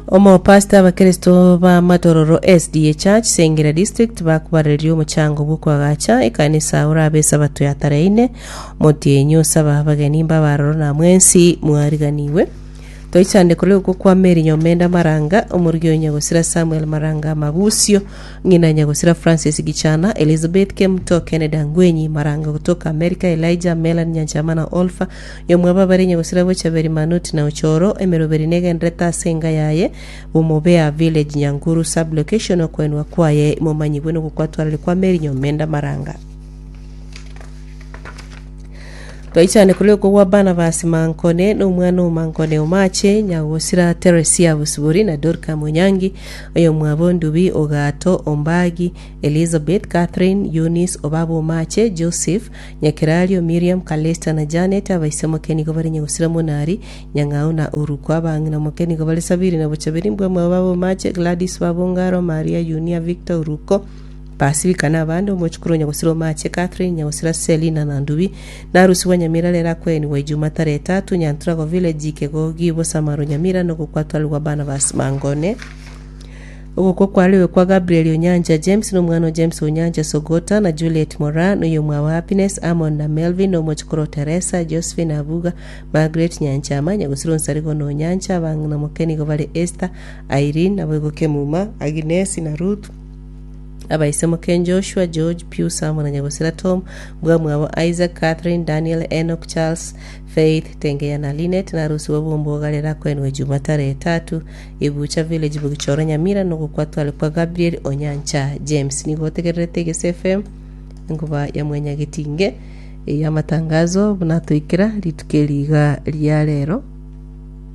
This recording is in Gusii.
Omopastor abakeresto ba Matororo SDA Church Sengera District bakobareria omochango bw'okoagacha ekanisa orabe esabato ya tarehe ine omotienyi osaba abageni mbabe aroro na mwensi mwariganigwe. Toichande korwa okwo kwa Mary Nyomenda Maranga, omorugi o Nyagosira Samuel Maranga Mabusio, ng'ina Nyagosira Francis Gichana, Elizabeth Kemuto, Kennedy Angwenyi Maranga gotoka America, Elijah, Melanie Nyanchama na Olpha, Yomwabo abare Nyagosira Bochaberi Manuti na Ochoro, emeroberi negenderete ase enga yaye, Bomobea Village Nyankuru Sub Location okoenwa kwaye momanyigwe nogokwatwarari kwa Mary Nyomenda Maranga. Twaichane korwa okwo gwa Barnabas Mankone na omwana o Mankone Omache, Nyagosira Teresia Bosibori na Dorka Monyangi, oyomwabo Ndubi Ogato Ombagi, Elizabeth, Catherine, Eunice, Obaba Omache, Joseph, Nyakerario, Miriam, Calista na Janet, abaise moke nigo bare Nyagosira Monari, Nyang'au na Oruko, abang'ina moke nigo bare Sabiri na Bochaberi, Mbwamwabo Baba Omache, Gladys Baba Ongaro, Maria, Yunia, Victor, Oruko, Pasifika na abande, omochukuru o nyagosira Omache, Catherine, nyagosira Selina na Ndubi, na arusigwa Nyamira rero akoenigwa Ijuma tarehe tatu, Nyanturago Village, Kegogi, Bosamaro Nyamira, na ogokwatwarigwa Barnabas Mangone. Ogokwa kwarigwe kwa Gabriel Onyancha James, na omwana o James Onyancha Sogota, na Juliet Moraa, na oyomwabo Happiness, Amon na Melvin, na omochukuru o Teresa, Josephine Abuga, Margaret Nyanchama, nyagosira Onsarigo na Onyancha, abang'ina moke nigo bare Esther, Irene, naboigo Kemuma, Agnes, na Ruth, Abaise moke Joshua, George, Pius amo na nyagosira Tom, mbwamwabo Isaac, Catherine, Daniel, Enoch, Charles, Faith, Tengeya na Linet, na arusigwe bw'omboga rero akoenwe Juma tarehe etatu, Ebucha Village Bogichoro Nyamira, na ogokwa tware kwa Gabriel Onyancha James. Nigo otegererete Egese FM, enkuba ya Mwanyagetinge, ey'amatangazo buna atoikera rituko eri iga ria rero.